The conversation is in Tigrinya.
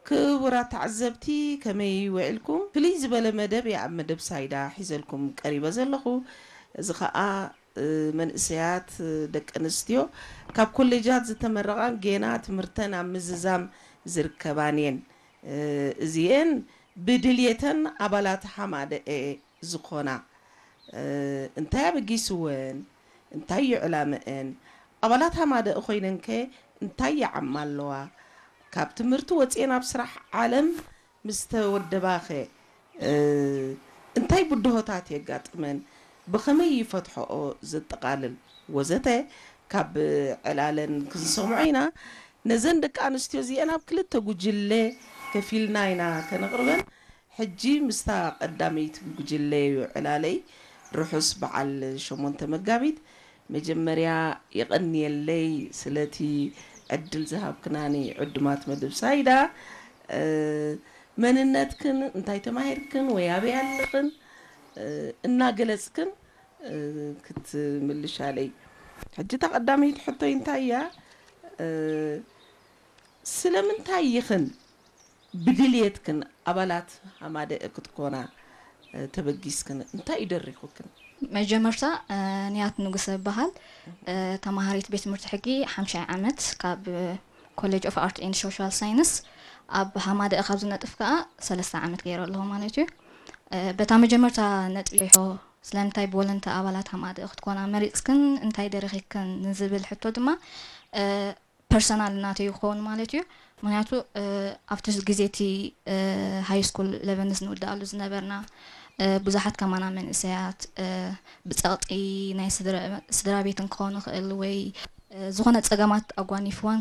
ክቡራት ተዓዘብቲ፣ ከመይ ውዒልኩም? ፍልይ ዝበለ መደብ እየ ኣብ መደብ ሳይዳ ሒዘልኩም ቀሪበ ዘለኹ። እዚ ኸኣ መንእሰያት ደቂ ኣንስትዮ ካብ ኮሌጃት ዝተመረቓን ጌና ትምህርተን ኣብ ምዝዛም ዝርከባን እየን። እዚኤን ብድልየተን ኣባላት ሓማደኤ ዝኾና፣ እንታይ ኣበጊስወን? እንታይ እዩ ዕላመአን? ኣባላት ሓማደኤ ኮይነንከ እንታይ ይዓማ ኣለዋ? ካብ ትምህርቲ ወፂኤን ኣብ ስራሕ ዓለም ምስ ተወደባኸ እንታይ ብድሆታት የጋጥመን? ብኸመይ ይፈትሐኦ? ዘጠቓልል ወዘተ ካብ ዕላለን ክንሰምዖ ኢና። ነዘን ደቂ ኣንስትዮ እዚአን ኣብ ክልተ ጉጅለ ከፊልና ኢና ከነቕርበን። ሕጂ ምስታ ቀዳመይቲ ጉጅለ እዩ ዕላለይ። ርሑስ በዓል ሸሞንተ መጋቢት። መጀመርያ የቐንየለይ ስለቲ ዕድል ዝሃብክናኒ ዕዱማት መደብ ሳይዳ። መንነትክን እንታይ ተማሂርክን ወይ ኣበይ ኣለኽን እናገለጽክን ክትምልሻለይ። ሕጂ እታ ቀዳመይቲ ሕቶይ እንታይ እያ? ስለምንታይ ኢኽን ብድልየትክን ኣባላት ሃማደኤ ክትኮና ተበጊስክን? እንታይ እዩ ደሪኹክን? መጀመርታ ንያት ንጉሰ እበሃል። ተማሃሪት ቤት ትምህርቲ ሕጊ ሓምሻይ ዓመት ካብ ኮሌጅ ኦፍ ኣርት ኤንድ ሶሻል ሳይንስ። ኣብ ሃማደኤ ካብ ዝነጥፍ ከኣ ሰለስተ ዓመት ገይረ ኣለኹ ማለት እዩ። በታ መጀመርታ ነጥቢ ሪሖ ስለምንታይ ብወለንታ ኣባላት ሃማደኤ ክትኮና መሪፅክን እንታይ ደሪኺክን ንዝብል ሕቶ ድማ ፐርሰናል ናተይ ክኸውን ማለት እዩ። ምክንያቱ ኣብቲ ግዜ እቲ ሃይ ስኩል ኢለቨንስ ንውድኣሉ ዝነበርና ብዙሓት ከማና መንእሰያት ብፀቕጢ ናይ ስድራ ቤት ክኸውን ይኽእል ወይ ዝኾነ ፀገማት ኣጓኒፍወን